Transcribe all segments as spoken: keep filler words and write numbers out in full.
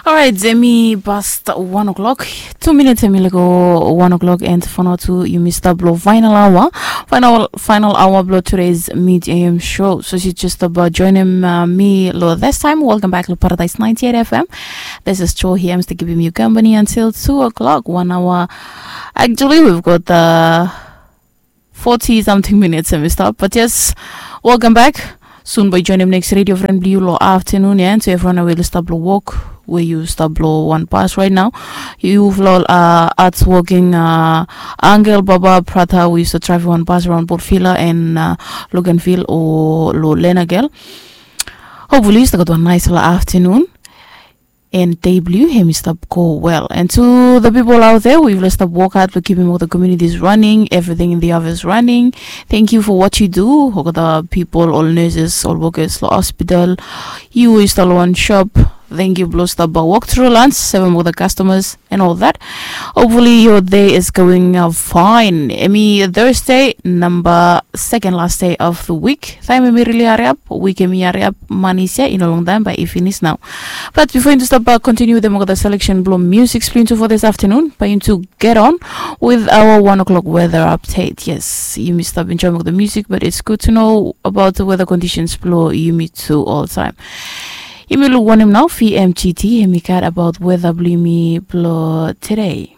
Alright, hemi past one o'clock. Two minutes hemi lego one o'clock, and for now tu yumi stap lo final hour. Final final hour blo today's mid am show. So si just about joining uh, me lo this time. Welcome back to Paradise ninety-eight F M. This is Cho here. I'm still giving you company until two o'clock. One hour. Actually, we've got uh, forty something minutes and we stop. But yes, welcome back. Soon by joining next radio friend blue lo afternoon, yeah. So everyone will stop lo work where you stop lo one bus right now. You flow uh at working uh Angel Baba Prata, we used to drive one bus around Port Villa and uh, Loganville or Lo Lena Girl. Hopefully, you still got one nice little afternoon. And day blue hemi stop go well. And to the people out there, we will stop work hard for keeping all the communities running, everything in the office running. Thank you for what you do. All the people, all nurses, all workers, the hospital, you is the one shop. Thank you, blo stop by walk through lunch, seven with the customers and all that. Hopefully, your day is going uh, fine. Emi Thursday, number second last day of the week. Time emi really hurry up. Week emi hurry up. Money is here in a long time, but it finish now. But before you stop by, continue with them with the selection blo music splinter for this afternoon. But you to get on with our one o'clock weather update. Yes, you missed up enjoying the music, but it's good to know about the weather conditions blo you meet to all time. Yumi luk wanem nao fi M G T hemi gat about weather blo yumi blo today.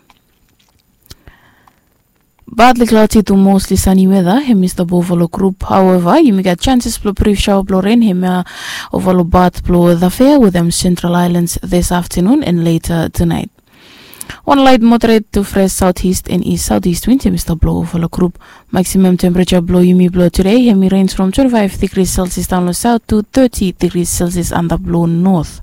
Badly cloudy to mostly sunny weather hemi stap over lo group. However, yumi gat chances blo brief shower blo rain hemi over lo bat blo the fair with them central islands this afternoon and later tonight. One light moderate to fresh southeast and east southeast wind hemi stap blo over lo group. Maximum temperature blo yumi blo today hemi range from twenty-five degrees Celsius down lo south to thirty degrees Celsius antap lo north.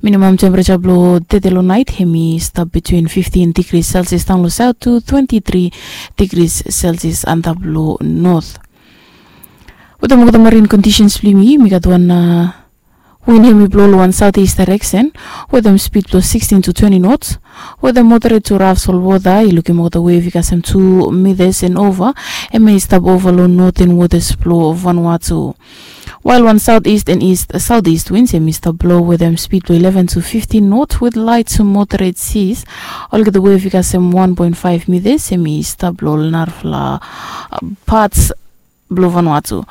Minimum temperature blo tete lo night hemi stap between fifteen degrees Celsius down lo south to twenty-three degrees Celsius antap lo north. Wetem olgeta marine conditions blo yumi, yumi gat wan uh, wind hemi blo lo wan southeast direction wetem speed blo sixteen to twenty knots. Wetem moderate to rough sol water, i lukim olgeta wave i kasem two meters and over. Hemi stap over lo northern waters blo Vanuatu. While wan southeast and east southeast winds hemi stap blo wetem speed blo eleven to fifteen knots with light to moderate seas. Olgeta wave i kasem one point five meters hemi stap blo narafala uh, parts blo Vanuatu.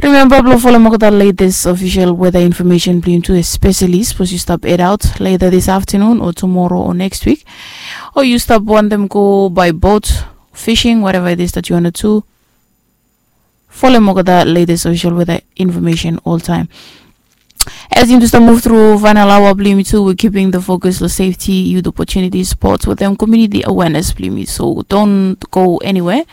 Remember blo folem olgeta latest official weather information blo yumi tu, especially sapos yu stap head out later this afternoon or tomorrow or next week, or yu stap wantem go by boat, fishing, whatever it is that you wanna do. Folem olgeta latest official weather information all time. As yumi stap move through final hour blo yumi tu, we keeping the focus lo safety, youth opportunity, sports wetem community awareness blo yumi. So don't go anywhere.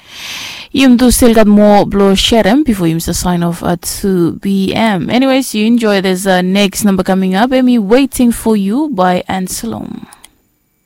Yumi tu still gat moa blo serem before yumi stap sign off at two p.m. Anyways, you enjoy this uh, next number coming up. Hemi Waiting for You by Anselom.